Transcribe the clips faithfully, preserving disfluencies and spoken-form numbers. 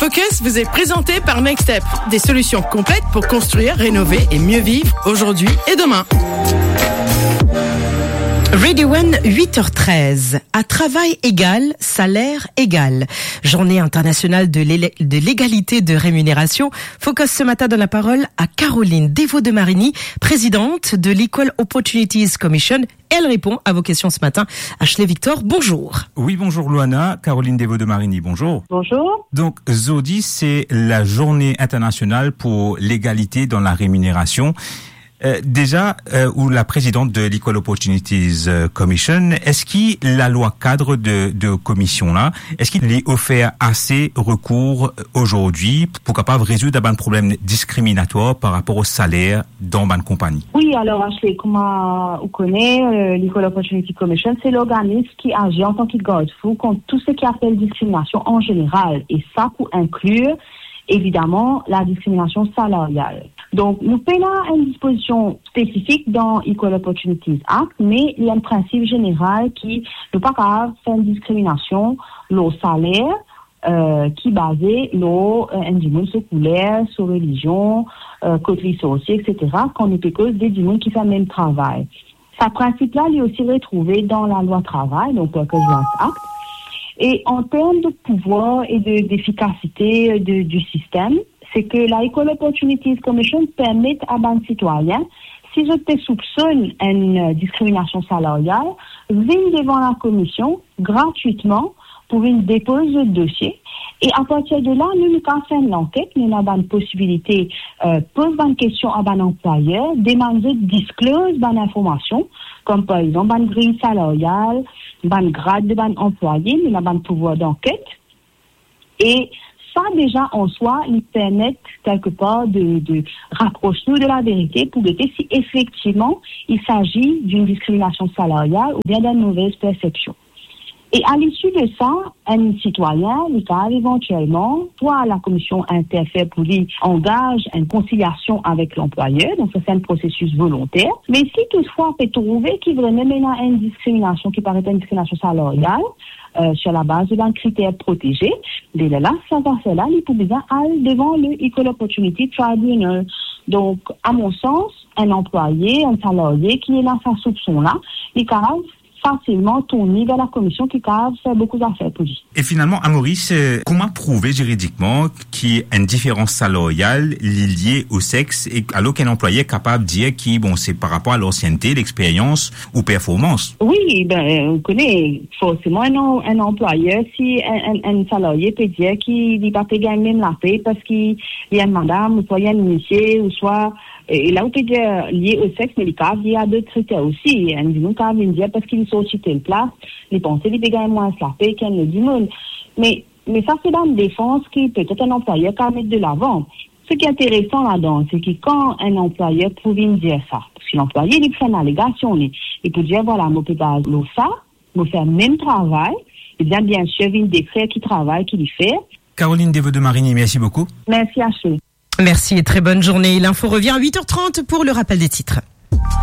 Focus vous est présenté par Nextep, des solutions complètes pour construire, rénover et mieux vivre aujourd'hui et demain. Radio One, huit heures treize. À travail égal, salaire égal. Journée internationale de l'élé-, de l'égalité de rémunération. Focus ce matin donne la parole à Caroline Devaux de Marigny, présidente de l'Equal Opportunities Commission. Elle répond à vos questions ce matin. Ashley Victor, bonjour. Oui, bonjour Loana. Caroline Devaux de Marigny, bonjour. Bonjour. Donc, zordi, c'est la journée internationale pour l'égalité dans la rémunération. Euh, déjà, euh, ou la présidente de l'Equal Opportunities, euh, Commission, eski lalwa kad de, de komision la, eski li ofer ase rekour, euh, zordi pou kapav rezoud bann problem diskriminatwar par rapor o saler dan bann konpagni? Wi, alor, Ashley, kouma ou kone, euh, l'Equal Opportunity Commission, se lorganis ki azir antan ki gardfou kont tou seki apel diskriminasion an zeneral, e sa pou inklir, evidaman, la diskriminasion salarial. Donk, nou pena enn dispozision spesifik dan Equal Opportunities Act, me li enn prinsip zeneral ki nou pa kapav fer enn diskriminasion lor saler, euh, ki baze lor, euh, enn dimoun so kouler, so relizion, euh, kot li sorti, et cetera, kan nou pe koz de dimoun ki fer mem travay. Sa prinsip la, li osi retrouve dan lalwa travay, donk Workers' Rights Act. E an term de pouvwar e de, defikasite de, di sistem, se ke la Equal Opportunities Commission permet a bann sitwayin, si zot pe soupsonn enn, euh, diskriminasion salarial, vinn devan la komision gratwitman pou vinn depoz zot dosie. E apartir de la, nou, nou kapav fer enn lanket, nou ena bann posibilite, euh, poz bann kestion a bann anplwayer, demann zot disclose bann informasion, kom par exanp bann griy salarial, bann grad de bann anplwaye, nou ena bann pouvwar danket. E sa, deza, an swa, li permet, kelkepar, de, de rapros nou de laverite pou gete si efektivman il s'agit d'une discrimination salariale oubien d'une mauvaise perception. E a lisi de sa, enn sitwayin, li kapav evantielman, swa la komision interfer pou li angaz enn konsiliasion avek lanplwayer, donk sa se enn prosesis volonter. Me si toutfwa pe trouve ki vremem ena enn diskriminasion ki paret enn diskriminasion salarial, euh, sur la base de bann kriter proteze, be lerla, sa zafer la, li pou bizin al devan le Equal Opportunity Tribunal. Donk, a mon sans, enn anplwaye, enn salarie ki ena sa soupson la, li kapav fasilman tourn li ver la komision ki kapav fer boukou zafer pou li. E finalman, a Moris, euh, kouma prouve ziridikman ki enn diferans salarial li lie o sex, e alor ki enn anplwayer kapav dir ki, bon, se par rapor a lansiennte, lexperyans ou performans? Wi, be, ou kone, forseman, enn an-, enn anplwayer, si enn, enn, enn salarie pe dir ki li pa pe gagn mem lape parski li enn madam, ouswa li enn misie, ouswa, e, e la ou pe dir lie o sex, me li kapav lie a dot kriter osi. Enn dimoun kapav vinn dir parski li sorti tel plas, li panse li pe gagn mwins lape ki enn lot dimoun. Me, me sa se bann defans ki petet enn anplwayer kapav met de lavan. Seki interesan ladan, se ki kan enn anplwayer pou vinn dir sa, parski lanplwaye, li pou fer enn alegasion, li, li pou dir, vwala, mo pe baz lor sa, mo fer mem travay, ebien, biensir, vinn dekrir ki travay ki li fer. Caroline Devaux de Marigny, merci beaucoup. Merci, Ashley. Merci et très bonne journée. L'info revient à huit heures trente pour le rappel des titres.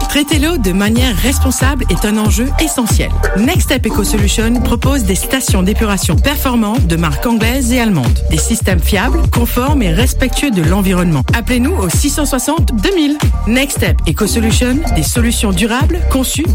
Traiter l'eau de manière responsable est un enjeu essentiel. Next Step Eco Solution propose des stations d'épuration performantes de marque anglaise et allemande. Des systèmes fiables, conformes et respectueux de l'environnement. Appelez-nous au six cent soixante deux mille. Next Step Eco Solution, des solutions durables conçues